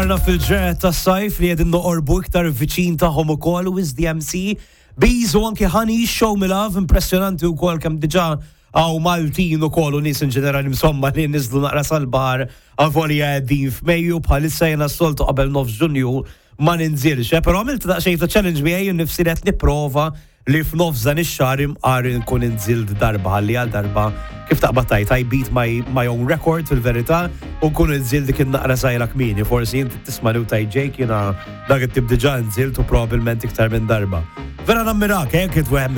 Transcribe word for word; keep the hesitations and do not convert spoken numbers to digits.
Għarna fil-ġranet tas-sajf li qegħdin noqorbu iktar viċin tagħhom ukoll u The M C Bees u anki Honey, Show Me Love, impressjonanti wkoll kemm diġà hawn Maltin ukoll u nies in ġenerali, insomma, li niżlu naqra sal-baħar avolja qegħdin f'Mejju bħalissa. Jiena s-soltu qabel nofs Ġunju ma ninżilx, eh, però għamilt daqsxejn ta' challenge miegħi nifsi qed nipprova li f'nofs dan ix-xahar imqar nkun inżilt darba, ħalli għal darba, kif taqbad tgħid, I beat my, my own record fil-verità u nkun inżilt dik in-naqra żgħira kmieni. Forsi inti tisma' li u tgħid, "Jake, jiena dak it-tip diġà nżilt u probabbilment iktar minn darba." Vera nammirak, eh, kif wieħed